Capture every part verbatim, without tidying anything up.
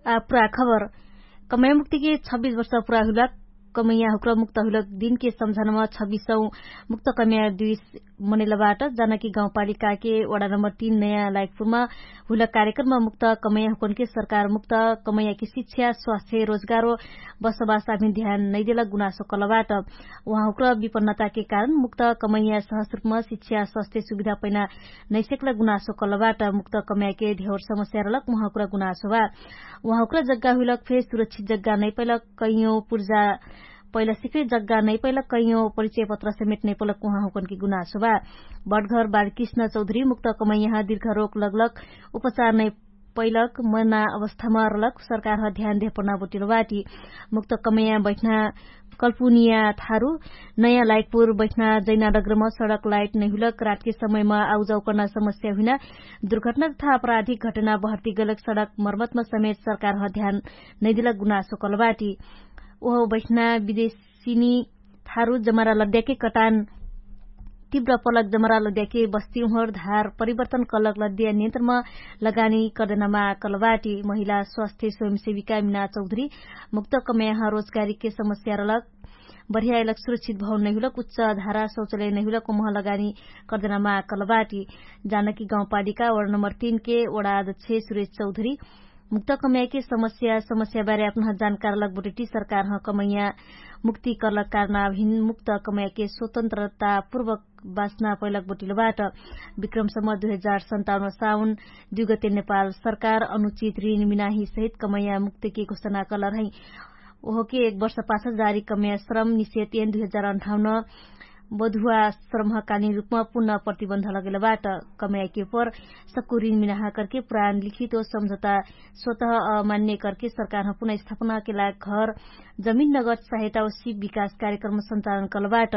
आ पुरा खबर। कमैया मुक्तिके छब्बिस वर्ष पुरा हुइलक कमैया हुक्र मुक्त हुइलक दिनके सम्झनमा छब्बिसौ मुक्त कमैया दुइस मनैलबाट। जानकी गाउँपालिकाके वडा नम्बर तीन नयाँ लाइकपुरमा हुइलक कार्यक्रममा मुक्त कमैया हुकनके सरकार मुक्त कमैयाके शिक्षा स्वास्थ्य रोजगारो बसोबास आभिन ध्यान नैदेलक गुनासो कलबाट। उहाँ हुक्र विपन्नताके कारण मुक्त कमैया सहस रुपमा शिक्षा स्वास्थ्य सुविधा पैना नैसेकलक गुनासो कलबाट। मुक्त कमैयाके धेवर समस्या रहलक उहाँ हुक्र गुनासो बा। उहाँ हुक्र जग्गा हुइलक फे सुरक्षित जग्गा नैपैलक कैयौं पुर्जा पैला सिक्रे जग्गा नैपैलक कैयौं परिचय पत्र समेट नैपैलक उहाँ हुकनके गुनासो बा। बटघर बालकृष्ण चौधरी मुक्त कमैया दिर्घरोक लगलक उपचार नैपैलक मना अवस्थामा रहलक सरकार ह ध्यान धेपना बोटिलो बाटी। मुक्त कमैया बैठना कल्पुनिया थारु नयाँ लाइटपुर बैठना जैना डग्रमा सडक लाइट नैहुलक रातके समयमा आउजाउ कर्ना समस्या हुइना दुर्घटना तथा अपराधिक घटना बहर्ती गलक सडक मर्मतमा समेत सरकार ह ध्यान नैदिलक गुनासो कलबाटी। ओहो बैठना विदेशिनी थारु जमरा लद्याके कटान तिब्र पलक जमरा लद्याके बस्ती उहर धार परिवर्तन कलक लद्या नियन्त्रमा लगानी कर्दनामा कलबाटी। महिला स्वास्थ्य स्वयंसेविका मिना चौधरी मुक्त कमैया ह रोजगारीके समस्या रहलक बढियाइलक सुरक्षित भवन नैहुलक उच्च धारा शौचालय नैहुलक उमह लगानी कर्दनामा कलबाटी। जानकी गाउँपालिका वडा नम्बर तीनके वडा अध्यक्ष सुरेश चौधरी मुक्त कमैयाके समस्या समस्या बारे अपनह जानकारलक बोटटी सरकार ह कमैया मुक्ति कर्लक कारणाभिन मुक्त कमैयाके स्वतन्त्रता पूर्वक बाचना पैलक बोटिलो बाट। विक्रमसम्म दुई हजार सन्ताउन्न साउन दुई गते नेपाल सरकार अनुचित ऋण मिनाही सहित कमैया मुक्तिके घोषणा कलर है। ओहोके एक वर्ष पाछ जारी कमैया श्रम निषेध एन दुई हजार अन्ठाउन्न बधुवा श्रमहकालीन रुपमा पुनः प्रतिबन्ध लगेलबाट। कमैयाके पर सक्कु ऋण मिनाहा करके पुरान लिखित ओ सम्झौता स्वतः अमान्य करके सरकार ह पुनः स्थापनाके लाग घर जमिन नगद सहायता ओ सिप विकास कार्यक्रम सञ्चालन कलबाट।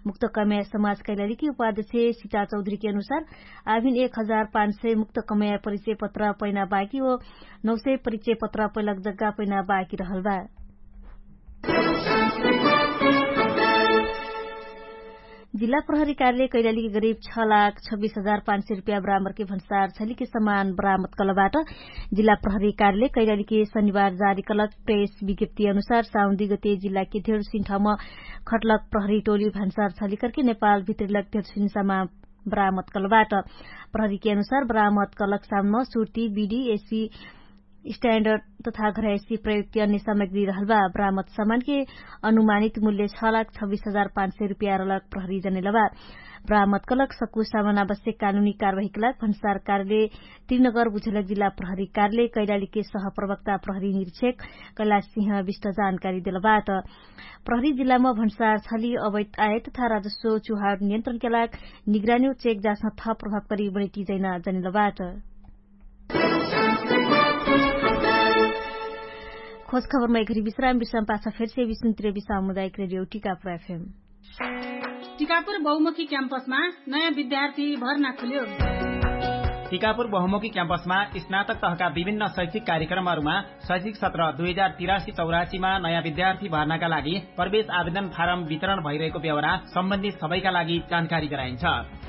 मुक्त कमैया समाज कैलालीके उपाध्यक्ष सिता चौधरीके अनुसार आभिन एक हजार पाँच सय मुक्त कमैया परिचय पत्र पैना बाकी ओ नौ सय परिचय पत्र पैलक जग्गा पैना बाकी रहल बा। जिल्ला प्रहरी कार्यालय कैलालीके गरिब छ लाख छब्बिस हजार पाँच सय रुपियाँ बरामरके भन्सार छलिके समान बरामत कलबाट। जिल्ला प्रहरी कार्यालय कैलालीके शनिबार जारी कलक प्रेस विज्ञप्ति अनुसार साउन दुई गते जिल्लाके धेरसिन ठाउँमा खटलक प्रहरी टोली भन्सार छलिकरके नेपाल भित्रिलक धेरसिन समान बरामत कलबाट। प्रहरीके अनुसार बरामत कलक सामनमा सुर्ती बिडी एसी स्ट्यान्डर्ड तथा घरायसी प्रयुक्ति अन्य सामग्री रहल बा। बरामत सामानके अनुमानित मूल्य छ लाख छब्बिस हजार पाँच सय रुपियाँ रहलक प्रहरी जनेलबा। बरामत कलक सक्कु सामान आवश्यक कानुनी कारवाहीके लाग भन्सार कार्यालय त्रिनगर बुझेलक जिल्ला प्रहरी कार्यालय कैलालीके सहप्रवक्ता प्रहरी निरीक्षक कैलाश सिंह विष्ट जानकारी देलबाट। प्रहरी जिल्लामा भन्सार छली अवैत आयत तथा राजस्व चुहार नियन्त्रणके लाग निगरानी ओ चेक जाँचमा थप प्रभावकारी बनिटी जैना जनेलबाट। खोज खबरमा एघरी विश्राम विश्राम पाछा फेरसे विष्णुतिर विश्राम मुदायक रेडियो टिकापुर एफएम। टिकापुर बहुमुखी क्याम्पसमा नयाँ विद्यार्थी भर्ना खुल्यो। टिकापुर बहुमुखी क्याम्पसमा स्नातक तहका विभिन्न शैक्षिक कार्यक्रमहरूमा शैक्षिक सत्र दुई हजार तिरासी चौरासीमा नयाँ विद्यार्थी भर्नाका लागि प्रवेश आवेदन फारम वितरण भइरहेको बेहोरा सम्बन्धित सबैका लागि जानकारी गराइन्छ।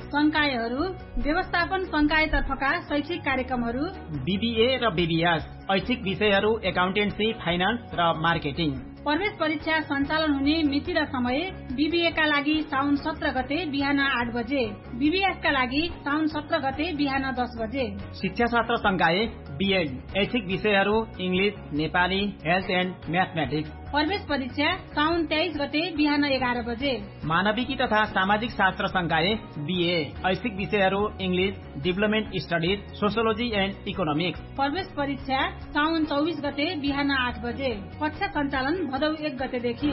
संकायहरू व्यवस्थापन संकायतर्फका शैक्षिक कार्यक्रमहरू बिबिए र बिबिएस, ऐच्छिक विषयहरू एकाउन्टेन्सी फाइनान्स र मार्केटिङ। प्रवेश परीक्षा सञ्चालन हुने मिति र समय बिबिएका लागि साउन सत्र गते बिहान आठ बजे, बिबिएसका लागि साउन सत्र गते बिहान दस बजे। शिक्षा शास्त्र संकाय बिएड, ऐच्छिक विषयहरू इङ्ग्लिस, नेपाली, हेल्थ एन्ड म्याथमेटिक्स। प्रवेश परीक्षा साउन तेइस गते बिहान एघार बजे। मानविकी तथा सामाजिक शास्त्र संकाय बिए, ऐच्छिक विषयहरू इङ्ग्लिस, डिभलपमेन्ट स्टडिज, सोसियोलोजी एन्ड इकोनोमिक्स। प्रवेश परीक्षा साउन चौबिस गते बिहान आठ बजे। कक्षा सञ्चालन भदौ एक गतेदेखि।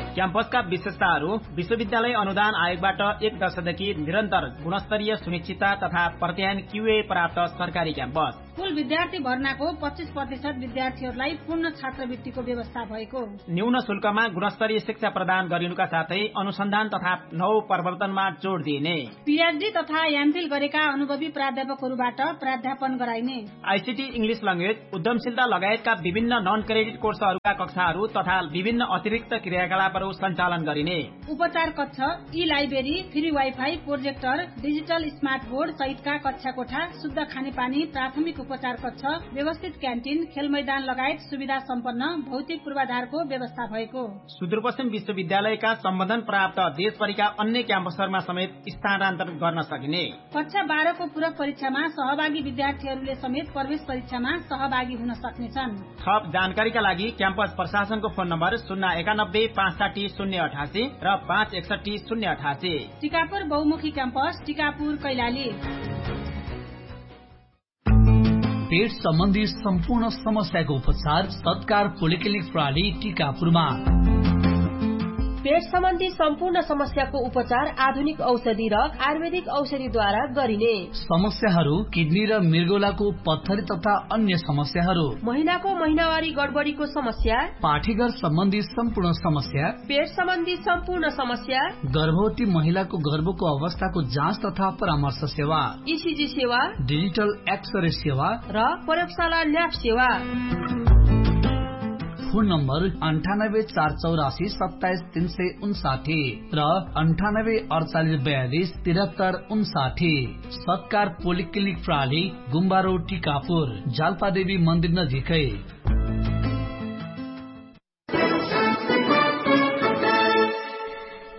क्याम्पसका विशेषताहरू विश्वविद्यालय अनुदान आयोगबाट एक दशकदेखि निरन्तर गुणस्तरीय सुनिश्चितता तथा प्रत्यायन क्युए प्राप्त सरकारी क्याम्पस। कुल विद्यार्थी भर्नाको पच्चिस प्रतिशत विद्यार्थीहरूलाई पूर्ण छात्रवृत्तिको व्यवस्था भएको। न्यून शुल्कमा गुणस्तरीय शिक्षा प्रदान गरिनुका साथै अनुसन्धान तथा नव प्रवर्तनमा जोड दिइने। पिएचडी तथा एमफिल गरेका अनुभवी प्राध्यापकहरूबाट प्राध्यापन गराइने। आइसिटी इङ्ग्लिस ल्याङ्ग्वेज उद्यमशीलता लगायतका विभिन्न नन क्रेडिट कोर्सहरूका कक्षाहरू तथा विभिन्न अतिरिक्त क्रियाकलापहरू सञ्चालन गरिने। उपचार कक्ष, ई library, free wifi, projector, digital smart board सहितका कक्षा कोठा, शुद्ध खानेपानी, प्राथमिक उपचार कक्ष, व्यवस्थित क्यान्टिन, खेलमैदान लगायत सुविधा सम्पन्न भौतिक पूर्वाधारको व्यवस्था भएको। सुदूरपश्चिम विश्वविद्यालयका सम्बन्धन प्राप्त देशभरिका अन्य क्याम्पसहरूमा समेत स्थानान्तरण गर्न सकिने। कक्षा बाह्रको पूरक परीक्षामा सहभागी विद्यार्थीहरूले समेत प्रवेश परीक्षामा सहभागी हुन सक्नेछन्। थप जानकारीका लागि क्याम्पस प्रशासनको फोन नम्बर शून्य एकानब्बे पाँच साठी शून्य अठासी र पाँच एकसठी शून्य अठासी। टिकापुर बहुमुखी क्याम्पस, टिकापुर, कैलाली। पेट सम्बन्धी सम्पूर्ण समस्याको उपचार सत्कार पोलिक्लिनिक प्रणाली टिकापुरमा। पेट सम्बन्धी सम्पूर्ण समस्याको उपचार आधुनिक औषधि र आयुर्वेदिक औषधिद्वारा गरिने। समस्याहरू किडनी र मृगौलाको पत्थरी तथा अन्य समस्याहरू। महिनाको महिनावारी गडबडीको समस्या। पाठीघर सम्बन्धी सम्पूर्ण समस्या। पेट सम्बन्धी सम्पूर्ण समस्या। गर्भवती महिलाको गर्भको अवस्थाको जाँच तथा परामर्श सेवा। इसिजी सेवा। डिजिटल एक्सरे सेवा। र प्रयोगशाला ल्याब सेवा। फोन नम्बर अन्ठानब्बे चार चौरासी सत्ताइस तीन सय उन्साठी र अन्ठानब्बे अडचालिस बयालिस तिरहत्तर उन्साठी। सत्कार पोलिक्लिनिक प्रणाली, गुम्बारो टिकापुर, जालपादेवी मन्दिर नजिकै।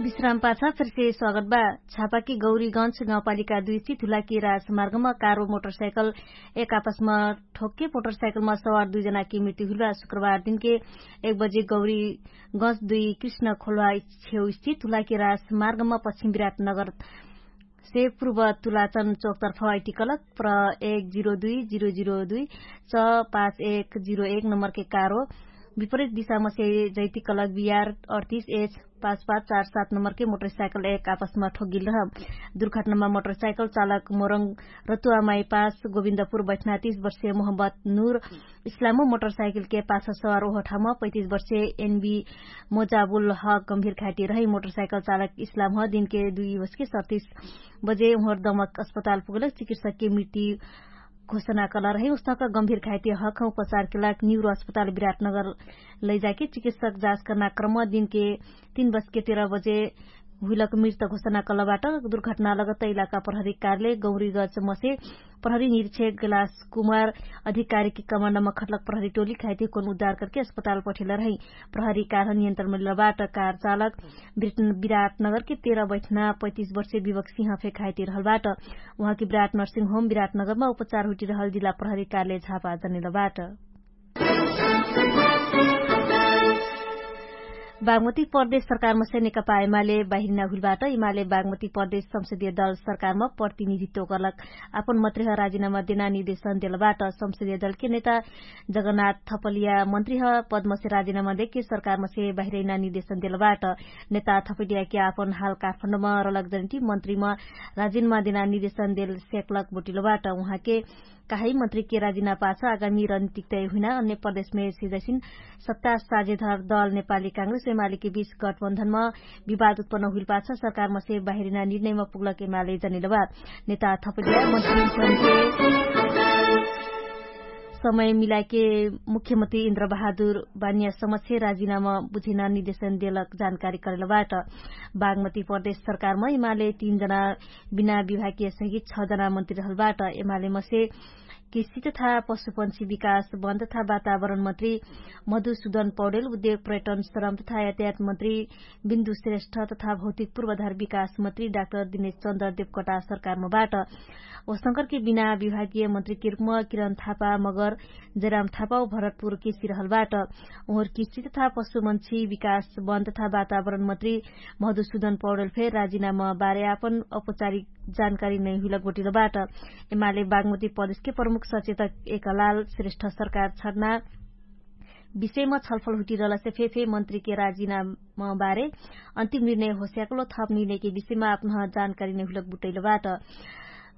विश्राम पाछा फेरसे स्वागत बा। छापाकी गौरीगंज गाउँपालिका दुई स्थित हुलाकी राजमार्गमा कार व मोटरसाइकल एक आपसमा ठोक्के मोटरसाइकलमा सवार दुई जनाकी मृत्यु हुइल बा। शुक्रबार दिनके एक बजे गौरीगंज दुई कृष्ण खोलवा छेउ स्थित हुलाकी राजमार्गमा पश्चिम विराटनगर से पूर्व तुलाचन चोकतर्फ अइटिकलक प्र एक जिरो दुई जिरो जिरो दुई च पाँच एक जिरो एक नम्बरके कारो विपरित दिशामसे जैतिकलक बियार अडतिस एच पाँच पाँच चार सात नम्बरके मोटरसाइकल एक आपसमा ठोगिल रह। दुर्घटनामा मोटरसाइकल चालक मोरङ रतुवामाई पास गोविन्दपुर बैठना तीस वर्षे मोहम्मद नुर इस्लामो मोटरसाइकलके पाछा सवार ओहठामा पैतिस वर्षे एनबी मोजाबुल ह गम्भिर घाइटी रही। मोटरसाइकल चालक इस्लाम ह दिनके दुई बजके सडतिस बजे उहर दमक अस्पताल पुगलक चिकित्सकके मृत्यु घोषणा कला रही। उस्तक गम्भिर घाइटी हक उपचारके लाग निउरो अस्पताल विराटनगर लैजाके चिकित्सक जाँच कर्ना क्रम दिनके तीन बजके तेह्र बजे हुइलक मृत घोषणा कलबाट। दुर्घटना लगत इलाका प्रहरी कार्यालय गौरीगज मसे प्रहरी निरीक्षक गलास कुमार अधिकारीके कमान्डमा खटलक प्रहरी टोली खाइते कोन उद्धार करके अस्पताल पठेल रही। प्रहरी कारह नियन्त्रण मिलबाट कार चालक विराटनगरके तेह्र बैठना पैतिस वर्षे विवक सिंह फे खाइते रहलबाट। उहाँके विराट नर्सिङ होम विराटनगरमा उपचार हुइटिरहल जिल्ला प्रहरी कार्यालय झापा जनेलबाट। बागमती प्रदेश सरकारमसे नेकपा एमाले बाहिरिना हुइलबाट। एमाले बागमती प्रदेश संसदीय दल सरकारम प्रतिनिधित्व करलक आपन मत्रेह राजिनामा देना निर्देशन देलबाट। संसदीय दलके नेता जगन्नाथ थपलिया मन्त्रीह पदमसे राजिनामा देके सरकारमसे बाहिरैना निर्देशन देलबाट। नेता थपलियाके आपन हाल काठमाडौँम रलक जनिटी मन्त्रीम राजिनामा देना निर्देशन देल सेकलक बोटिलबाट। उहाँके काहै मन्त्रीके राजिना पाछ आगामी रणनीतिक तय हुइना अन्य प्रदेशमे सिजैसिन सत्ता साझेधर दल नेपाली काङ्ग्रेस एमालेके बीच गठबन्धनम विवाद उत्पन्न हुइल पाछ सरकारमसे बाहिरिना निर्णयम पुग्लक एमाले जनिलबा। नेता थपलिया मन्त्रीसनके समय मिलाके मुख्यमन्त्री इन्द्र बहादुर बानिया समक्ष राजिनामा बुझेना निर्देशन देलक जानकारी करेलबाट। बागमती प्रदेश सरकारम एमाले तीन जना बिना विभागीय सहित छ जना मन्त्री रहलबाट। एमाले मसे कृषि तथा पशुपन्छी विकास वन तथा वातावरण मन्त्री मधुसुदन पौडेल, उद्योग पर्यटन श्रम तथा यातायात मन्त्री बिन्दु श्रेष्ठ तथा भौतिक पूर्वाधार विकास मन्त्री डाक्टर दिनेश चन्द्र देवकटा सरकारमबाट। वसंकरके बिना विभागीय मन्त्रीके रूपमा किरण थापा मगर जयराम थापा भरतपुर केसी रहलबाट। उहर कृषि तथा पशुपन्छी विकास वन तथा वातावरण मन्त्री मधुसुदन पौडेल फेर राजिनामा बारे आपन औपचारिक जानकारी नै हुइलक बोटिलबाट। एमाले बागमती प्रदेशके प्रमुख सचेतक एकलाल श्रेष्ठ सरकार छड्ना विषयमा छलफल हुटिरहलसे फेफे मन्त्रीके राजिनामा बारे अन्तिम निर्णय होस्याकलो थप निर्णयके विषयमा आपन जानकारी नै हुइलक बुटैलबाट।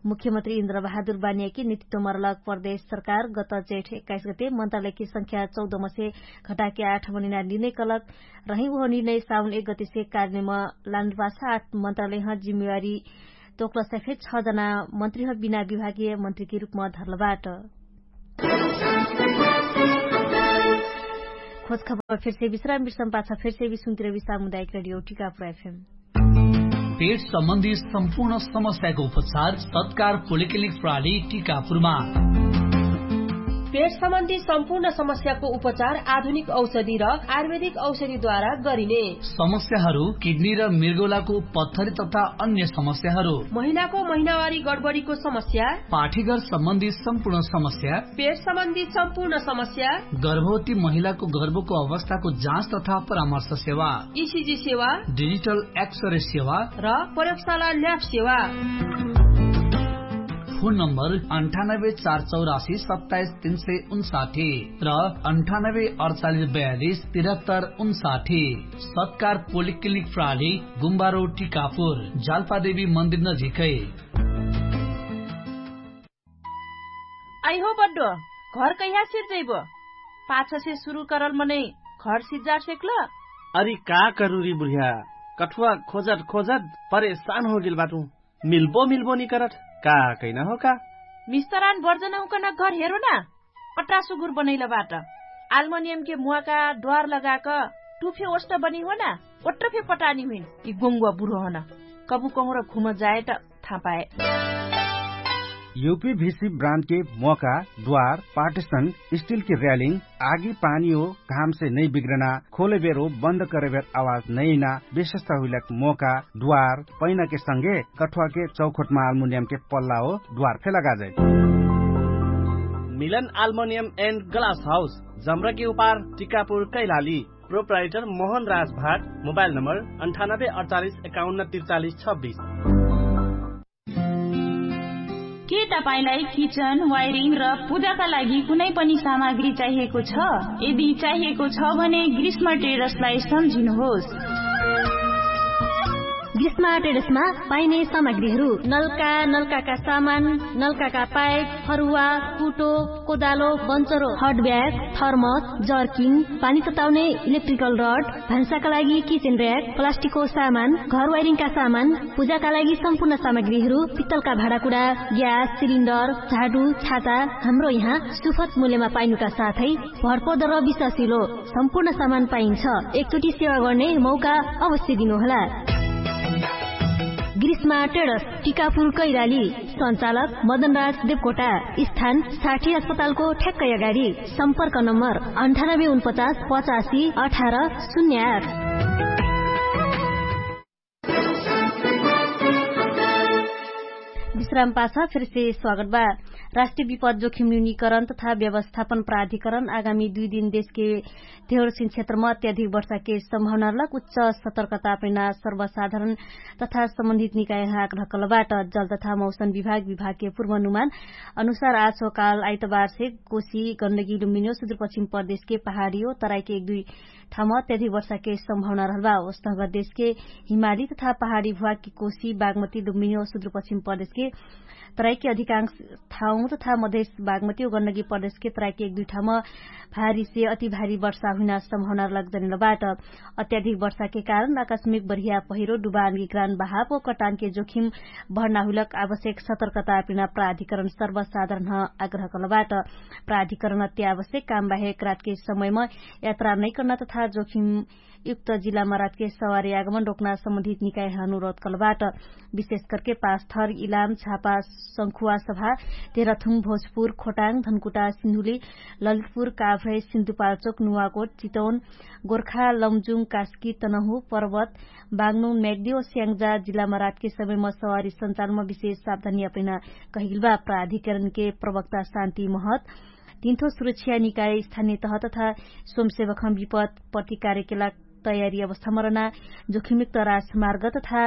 मुख्यमन्त्री इन्द्र बहादुर बानियाके नेतृत्वमा रहलक प्रदेश सरकार गत जेठ एक्काइस गते मन्त्रालयके संख्या चौध मसे घटाके आठ मनिना निर्णय कलक रही उहो निर्णय साउन एक गतेसे कार्यमा लानुपाछ आठ मन्त्रालयह जिम्मेवारी तोक्लसा फेर छ जना मन्त्रीह बिना विभागीय मन्त्रीके रूपमा धरलबाट। खोज खबर फेरसे विश्राम बिर्सम पाछा फेरसे विश्राम तिरबी सामुदायिक रेडियो टिकापुर एफएम। पेट सम्बन्धी सम्पूर्ण समस्याको उपचार सत्कार पोलिक्लिनिक प्रणाली टिकापुरमा। पेट सम्बन्धी सम्पूर्ण समस्याको उपचार आधुनिक औषधि र आयुर्वेदिक औषधिद्वारा गरिने। समस्याहरू किडनी र मृगौलाको पत्थरी तथा अन्य समस्याहरू, महिलाको महिनावारी गडबडीको समस्या, पाठीघर सम्बन्धी सम्पूर्ण समस्या, पेट सम्बन्धी सम्पूर्ण समस्या, गर्भवती महिलाको गर्भको अवस्थाको जाँच तथा परामर्श सेवा, इसिजी सेवा, डिजिटल एक्सरे सेवा र प्रयोगशाला ल्याब सेवा। फोन नम्बर अन्ठानब्बे चार चौरासी सत्ताइस तीन सय उन्साठी र अन्ठानब्बे अडचालिस बयालिस तिरहत्तर उन्साठी। सत्कार पोलिक्लिनिक प्राली गुम्बारो टिकापुर, जालपादेवी मन्दिर नजिकै। अइहो बड्डो, घर कैहा सिर्जैबो? पाछसे सुरु करल मनै घर सिज्जार सेक्ल? अरि का करुरी बुढिया, कठुवा खोजट खोजट परेशान होगेल बाटु। मिल्बो मिल्बो निकरट, का कैना हो का? मिस्तरान बर्जन हुकन घर हेरो ना। पट्रा सुगुर बनैल बाट। आल्मनियमके मुवाका द्वार लगाक टुफे ओष्ट बनी हो ना। ओट्रफे पटानी हुइन। यि गोङ्गुवा बुढो हन। कबु कहुँर घुम जाएट थापाए। युपी भिसी ब्रान्डके मोका, द्वार, पार्टिसन, स्टिलके र्यालिङ, आगी पानी हो घामसे नै बिग्रना, खोले बेरो बन्द करे बेर आवाज नैना, विशेषता हुइलक मोका, द्वार, पैनाके संगे कठुवाके चौखोटमा आल्मुनियमके पल्ला हो द्वार फे लगाजै। मिलन आल्मुनियम एन्ड ग्लास हाउस, जम्रके उपार, टिकापुर कैलाली। प्रोप्राइटर मोहन राज भाट। मोबाइल नम्बर अन्ठानब्बे अडचालिस एकाउन्न तिरचालिस छब्बिस। के तपाईंलाई किचन वायरिङ र पूजाका लागि कुनै पनि सामग्री चाहिएको छ? यदि चाहिएको छ भने ग्रीष्म ट्रेडर्सलाई सम्झिनुहोस्। ग्रीष्म ट्रेडर्समा पाइने सामग्रीहरू नल्का, नल्काका सामान, नल्काका पाइप, फरुवा, कुटो, कोदालो, बन्चरो, हट ब्याग, थर्मस, जर्किङ, पानी तताउने इलेक्ट्रिकल रड, भान्साका लागि किचेन र्याक, प्लास्टिकको सामान, घर वायरिङका सामान, पूजाका लागि सम्पूर्ण सामग्रीहरू, पित्तलका भाँडाकुँडा, ग्यास सिलिन्डर, झाडु, छाता, हाम्रो यहाँ सुफत मूल्यमा पाइनुका साथै भरपर्दो र विश्वासिलो सम्पूर्ण सामान पाइन्छ। एकचोटि सेवा गर्ने मौका अवश्य दिनुहोला। ग्रीष्मा ट्रेडर्स, टिकापुर कैराली। सञ्चालक मदनराज देवकोटा। स्थान साठी अस्पतालको ठ्याक्कै अगाडि। सम्पर्क नम्बर अन्ठानब्बे उनपचास पचासी अठार शून्य आठ। विश्राम पाछा फेरसे स्वागत बा। राष्ट्रिय विपद जोखिम न्यूनीकरण तथा व्यवस्थापन प्राधिकरण आगामी दुई दिन देशके धेरोसिन क्षेत्रमा अत्याधिक वर्षाके सम्भावनालक उच्च सतर्कता अपनैना सर्वसाधारण तथा सम्बन्धित निकायहाँ आग्रह कलबाट। जल तथा मौसम विभाग विभागके पूर्वानुमान अनुसार आछो काल आइतबारसे कोशी गण्डकी लुम्बिनी सुदूरपश्चिम प्रदेशके पहाडी हो तराइके एक दुई ठाउँमा अत्याधिक वर्षाके सम्भावना रहलबा। ओस्तहगर देशके हिमाली तथा पहाडी भुवाके कोशी बागमती लुम्बिनी सुदूरपश्चिम प्रदेशके तराइके अधिकांश ठाउँ तथा मधेस बागमती व गण्डकी प्रदेशके तराइके एक दुई ठाउँमा भारीसे अति भारी वर्षा हुइना सम्भावना लग्जनेल बाट। अत्याधिक वर्षाके कारण आकस्मिक बढिया पहिरो डुबानके ग्रान बहाव व कटानके जोखिम भर्ना हुइलक आवश्यक सतर्कता पिना प्राधिकरण सर्वसाधारण आग्रह कलबाट। प्राधिकरण अत्यावश्यक काम बाहेक रातके समयमा यात्रा नैकर्ना तथा जोखिम युक्त जिल्लामा रातके सवारी आगमन रोक्ना सम्बन्धित निकायह अनुरोध कलबाट। विशेष करके पाँच थर इलाम छापा संखुवा सभा तेह्रथुम भोजपुर खोटाङ धनकुटा सिन्धुली ललितपुर काभ्रै सिन्धुपाल्चोक नुवाकोट चितौन गोर्खा लमजुङ कास्की तनहु पर्वत बाग्नुङ म्याग्दी ओ स्याङ्जा जिल्लामा रातके समयमा सवारी सञ्चालमा विशेष सावधानी अपैना कहिगेलबा। प्राधिकरणके प्रवक्ता शान्ति महत तिन्थो सुरक्षा निकाय स्थानिय तह तथा स्वयंसेवकहम विपत प्रतिकार्यके लाग तयारी अवस्थामा रहना जोखिमयुक्त राजमार्ग तथा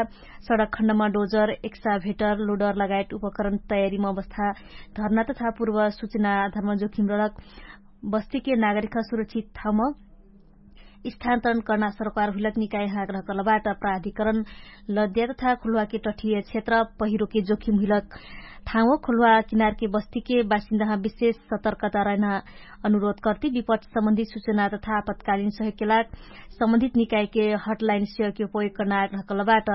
सडक खण्डमा डोजर एक्साभेटर लोडर लगायत उपकरण तयारीमा अवस्था धर्ना तथा पूर्व सुचना आधारमा जोखिम रडक बस्तीके नागरिकह सुरक्षित ठाउँमा स्थान्तरण कर्ना सरकार हुइलक निकायह आग्रह कलबाट। प्राधिकरण लद्या तथा खुल्वाके टठिय क्षेत्र पहिरोके जोखिम हुइलक ठाउँओ खुल्वा किनारके बस्तीके बासिन्दाह विशेष सतर्कता रहना अनुरोध कर्ति विपट सम्बन्धित सुचना तथा आपतकालिन सहयोगके लाग सम्बन्धित निकायके हटलाइन सेवाके उपयोग कर्ना आग्रह कलबाट।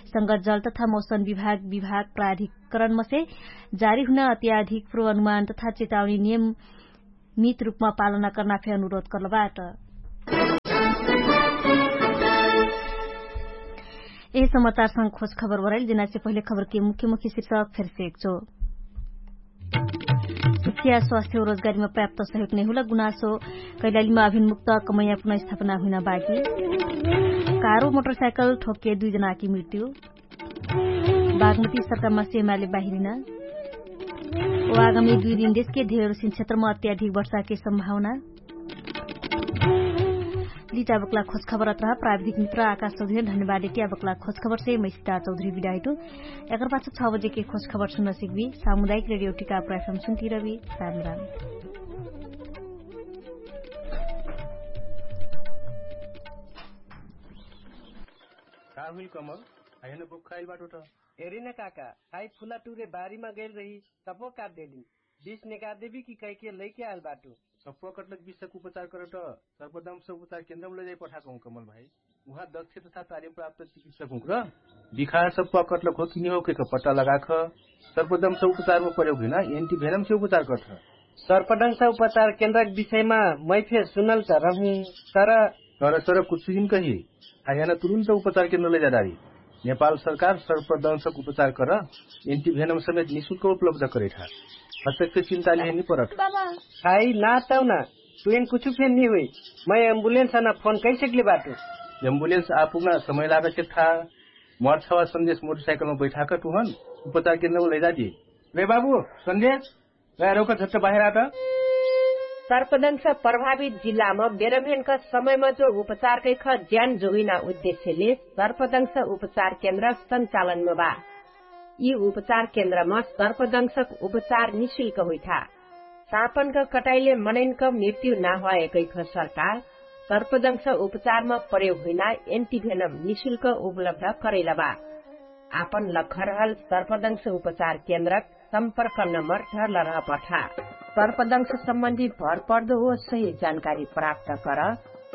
संगत जल तथा मौसम विभाग विभाग प्राधिकरणमसे जारी हुना अत्याधिक पूर्वानुमान तथा चेतावनी नियम मित रुपमा पालना कर्ना फे अनुरोध कर्लबाट। यही समाचारसँग खोज खबर बराइल जेनासे पहिले खबरके मुख्य मुख्य शिर्षक फेरसे एकचो। शिक्षा स्वास्थ्य रोजगारीमा पर्याप्त सहयोग नै हुल गुनासो। कैलालीमा अभिनमुक्त कमैया पुनर्स्थापना हुइना बाकी। कारो मोटरसाइकल ठोक्के दुई जनाकी मृत्यु। बागमती सरकारमा सेमाले बाहिरिना। ओ आगामी दुई दिन देशके धेर सिन क्षेत्रमा अत्याधिक वर्षाके सम्भावना। लिटा बक्ला खोजखबर अत्रा प्राविधिक मित्र आकाश चौधरी धन्यवाद। एटिया बक्ला खोजखबरसे मैसिता चौधरी बिडाइटु। एकर पाछ छ बजेके खोजखबर सुन्न सिकबी सामुदायिक रेडियो टिका प्रफम सुन्तिरबी। राम राम। का हुइल कमल? आइहन बोक्खाइल बाटो त? एरिन काका, खाइ फुला टुरे बारीमा गैल रही। सप्पो काट देलिन। बिस नेका देबी कि कैके लैके आइल बाटो? सप्पो कटलक बिसक उपचार करट। सर्पदंश उपचार केन्द्रम लैजाइ पठाकहु कमल भाइ। उहाँ दक्ष तथा तालिम प्राप्त चिकित्सक हुँक्र। बिखार सप्पो कटलक हो कि निहो कैक पट्टा लगाख। सर्पदंश उपचारम प्रयोग हुइना एन्टिभेनम से उपचार करट। सर्पदंश उपचार केन्द्रक विषयमा मै फेर सुनल त रहु। तर तर तर कुछु हिन कही। आइहन तुरुन्त उपचार केन्द्र लैजाडारी। नेपाल सरकार सर्पदंशक उपचार कर एन्टिभेनम समेत निशुल्क उपलब्ध करैठा। हस्तक फेर चिन्ता लिहे नि परत। बाबा। खाइ ना तौना। तुइन कुछु फेर नि हुइ। मै एम्बुलेन्स अना फोन कैसकले बाटु? एम्बुलेन्स आपुग्ना समय लागत के था। मर्छवा सन्देश मोटरसाइकलमा बैठाक तुहन उपचार केन्द्रमा लैजादी। रे बाबु, सन्देश, रे रौका झट्ट बाहिर आत। सर्पदंश प्रभावित जिल्लामा बेरम्हेनका समयमा जो उपचार कैख ज्यान जोगिना उद्देश्यले सर्पदंश उपचार केन्द्र सञ्चालनमा बा। यि उपचार केन्द्रमा सर्पदंशक उपचार निशुल्क हुइठा। सापनक कटाइले मनैनक मृत्यु नाहुवाए कैख सरकार सर्पदंश उपचारमा प्रयोग हुइना एन्टिभेनम निशुल्क उपलब्ध करैलबा। आपन लखरहल सर्पदंश उपचार केन्द्रक सम्पर्क नम्बर धरल रहपठा। सर्पदंश सम्बन्धी भरपर्दो ओ सही जानकारी प्राप्त कर।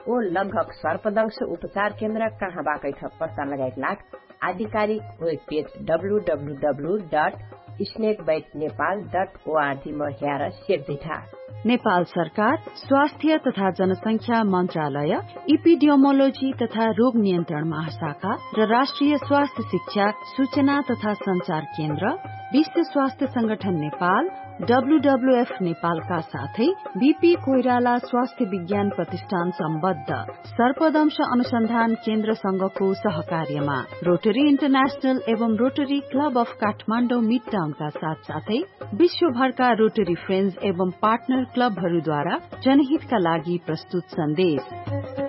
ओ लगभग सर्पदंश उपचार केन्द्र कहाँ बाकैठ पत्ता लगाइक लाग आधिकारिक webpage W W W dot snake bite Nepal dot ORG म ह्यार सेट दैठा। नेपाल सरकार स्वास्थ्य तथा जनसंख्या मन्त्रालय, इपिडियोमोलोजी तथा रोग नियन्त्रण महाशाखा र राष्ट्रिय स्वास्थ्य शिक्षा सूचना तथा सञ्चार केन्द्र, विश्व स्वास्थ्य संगठन नेपाल, डब्लुडब्लुएफ नेपालका साथै बिपी कोइराला स्वास्थ्य विज्ञान प्रतिष्ठान सम्बद्ध सर्पदंश अनुसन्धान केन्द्रसँगको सहकार्यमा रोटरी इन्टरनेशनल एवं रोटरी क्लब अफ काठमाडौँ मिडटाउनका साथसाथै विश्वभरका रोटरी फ्रेन्ड्स एवं पार्टनर क्लबहरूद्वारा जनहितका लागि प्रस्तुत सन्देश।